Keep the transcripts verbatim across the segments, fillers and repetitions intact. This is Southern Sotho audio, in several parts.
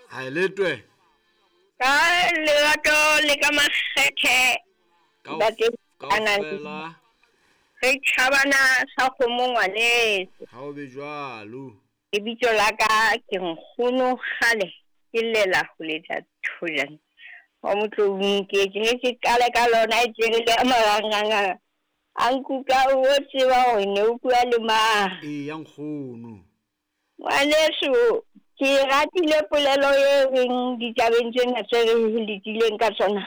Ha e letwe. Ka lerato le ka makgethe. Kaofela. Re tjhabana sa kgomo ngwaneso. Ha o be jwalo. Lebitso la ka ke Nkgono Kgale ke llela ho letsa Thojane. Wa Motloung ke ke ke qale ka lona e tjere le marangrang. A nkuka o tseba hore ne o bua le mang. Eya nkgono. Ngwaneso ke ratile polelo e reng ditabeng tsena tse re letileng ka tsona.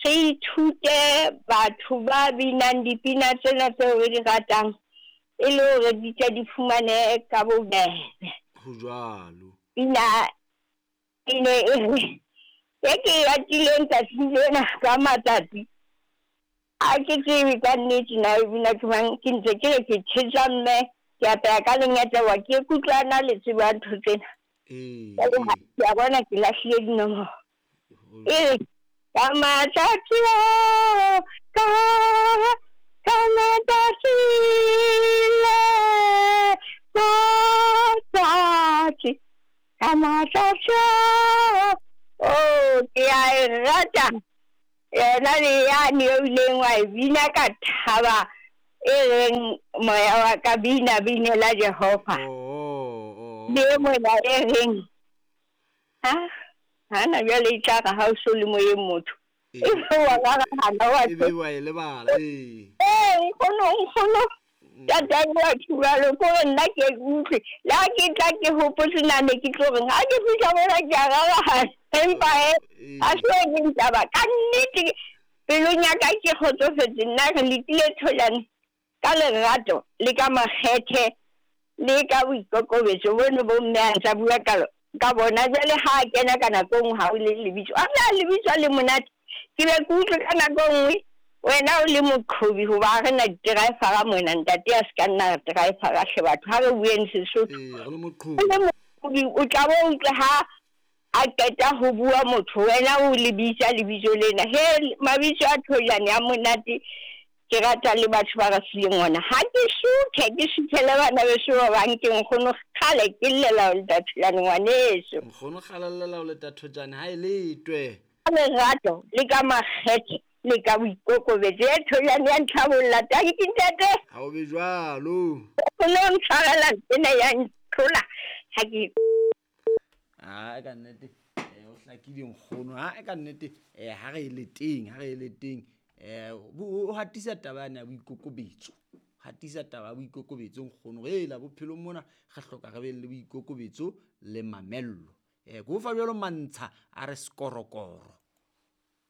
Re ithute batho ba binang dipina tsena tseo re di ratang e le hore di tle di fumane ka bobebe. Ho jwalo. Pina e ne e re e ke e ratileng tsatsing lena ka matsatsi. A ke tsebe ka nnete na e bina ke mang, ke ntse ke re ke tjhesa mme ke apeya ka lengetla wa ke kutlwana le tsebo ya ntho tsena. Ee. Ke a bona ke lahlile dinomoro. E re ka matsatsi ka ka matsatsi le matsatsi ka matsatsi. Oh, ke a e rata yona le yane eo ileng wa e bina ka thaba e reng moya wa ka bina binela Jehova. Oh, oh, Le mona e reng ha hana jwale e tla re ha o so le moyeng motho. E wa rarahana wa E be wa e lebala, ee. Ee, nkgono, nkgono. Tata wa jwalo ko re nna ke utlwe. Le ha ke tla ke hopotse na ne ke tlo reng ha ke fihla mona ke a rarahana. Empa he, ha se e leng taba. Ka nnete pelong ya ka ke kgotsofetse nna re letile Thojane ka lerato le ka makgethe le ka boikokobetso bono bo mme a ntsa bua ka ka bona. Jwale ha a kena ka nako e nngwe ha o le lebitso, a na lebitso le monate. Ke be ke utlwe ka nako e nngwe wena o le moqhobi hoba ha re na di-driver-a mona ntate a se ka nna driver-a hle batho ha re bueng Sesotho. Ee, re le moqhobi. O le moqhobi o tla bo utlwe ha a qeta ho bua motho wena o lebitsa lebitso lena. He mabitso a Thojane a monate ke rata le batho ba re fileng ona. Ha ke suthe ke suthele bana beso ba bang ke Nkgono Kgale ke llela ho leta Thojane ngwaneso. Nkgono Kgale llela ho leta Thojane ha e letwe. Ka lerato le ka makgethe le ka boikokobetso. E Thojane ya ntlhabolla tanki ntate. Ha o be jwalo. O no ntshwarela tsena ya ntlhola ha ke Ah, ka nnete eh o hlakile nkgono. Ha ka nnete eh ha re le teng, ha re le teng eh o hatisa taba yana ya boikokobetso. Hatisa taba ya boikokobetso nkgono. Re la bophelong mona re hloka re be le boikokobetso le mamello. Eh go fa jwalo mantsha a re skorokoro.